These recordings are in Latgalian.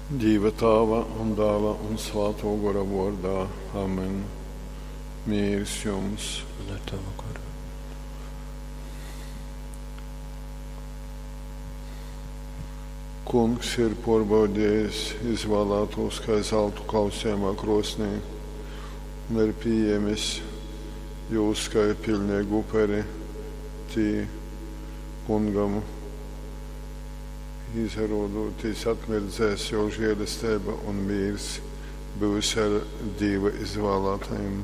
Dīva Tāva un Dāla un Svātō Gora vōrdā. Amen. Mīrs jums! Un ar tavu goru. Kungs ir pōrbaudējis izvālātūs kai zaltu kausējamā krōsnī un ir pījēmis jūs kai piļneigu uperi. Tī kungam izarodūtīs atmirdzēs jō žēlesteiba un mīrs byus ar Dīva izvālātajim.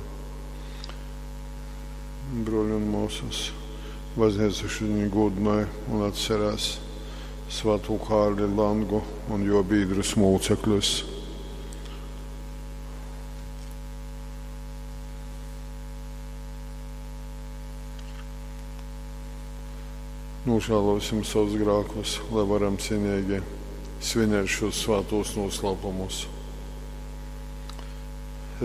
Brōļi un mōsas, baznīca šodien gūdināja un atcerās Svētū Kārli Langu un jo biedrus mūcekļus. Nožēlosim savus grēkus, lai varam cienīgi svinēt šos svētos noslēpumus.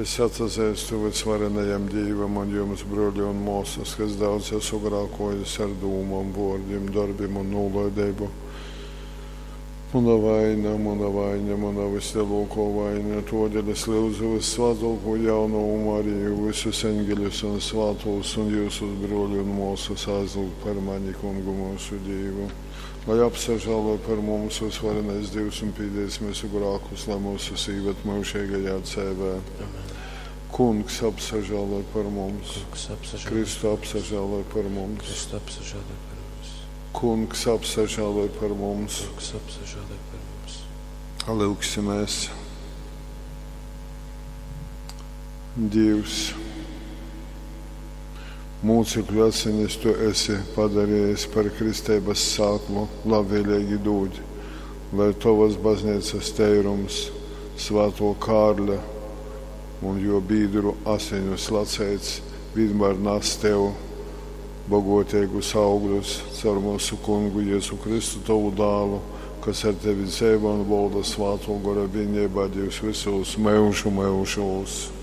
Es atzīstu visvarenajam Dievam un jums, brōļi un māsas, kas daudz esmu grēkojis ar dūmām, vārdiem, darbiem un nolaidību. Mana vaina, mana vaina, mana vislielākā vaina, todēļ es lūdzu vissvētāko jaunavu Mariju, visus eņģeļus un svētos un jūsus brōļi un māsas aizlūgt par mani kungu mūsu Dievu. Lai apsažālo par mums visvarenais Dievs un pīdēs mūsu grēkus, lai mūsu sīvet mūžīgajā dzīvē. Amen. Kungs apsažālo par mums. Kungs apsažālo. Kristu apsažālo par mums. Kristu apsažālo par mums. Kungs apsažālo par mums. Kungs apsažālo par mums. Lūgsimies. Dievs, mūcekļu asinis tu esi padarījis par kristības sāklu, labvēlīgi dod, lai tavas baznīcas teirums, svēto Kārļa un jo biedru asiņu slacēts, vienmēr nes tev bogotīgus augļus caur mūsu kungu Jēzu Kristu, tavu dālu, kas ar tevi dzīvo un valda svāto gora vienībā Dievs visos mūžu mūžos.